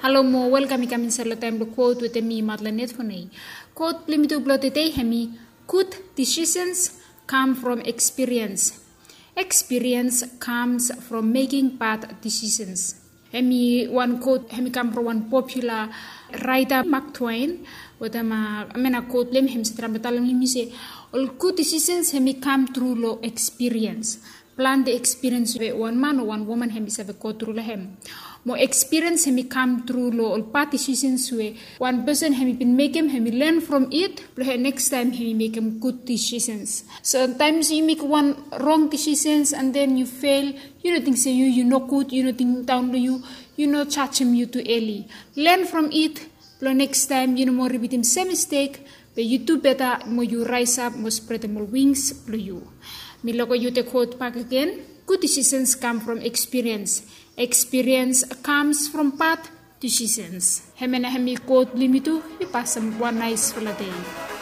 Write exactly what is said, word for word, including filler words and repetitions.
Halo mo welkam i kam insait long taem blong kot wetem mi, Madeleine Edfonei. Kot blong yumi tu blong tedei hemi: Good decisions come from experience. Experience comes from making bad decisions. Hemi wan kot hemi kam from wan popular writer, Mark Twain. Wetem a mena kot blong hem hemi save traem blong talem long yumi se ol good decisions hemi kam tru long experience. Plante experience we wan man o wan woman hemi save go tru long hem. Mo experience hemi kam tru long ol bad decisions we wan person hemi bin mekem, hemi learn from it blong hem next time hemi mekem good decisions. So taem yu mekem wan wrong decisions and then yu fail, yu no ting se yu yu nogud, yu no ting daon long yu, yu no jajem yu tu eli. Learn from it blong next time yu no moa ripitim sem mistake, be yu du beta mo yu raesap mo spretem ol wings blong yu. Mi loko yu te kot bakegen: Good decisions come from experience. Experience comes from bad decisions. Hemia nao hemi kot blong yumi tu. Yu pasem wan naesfala dei.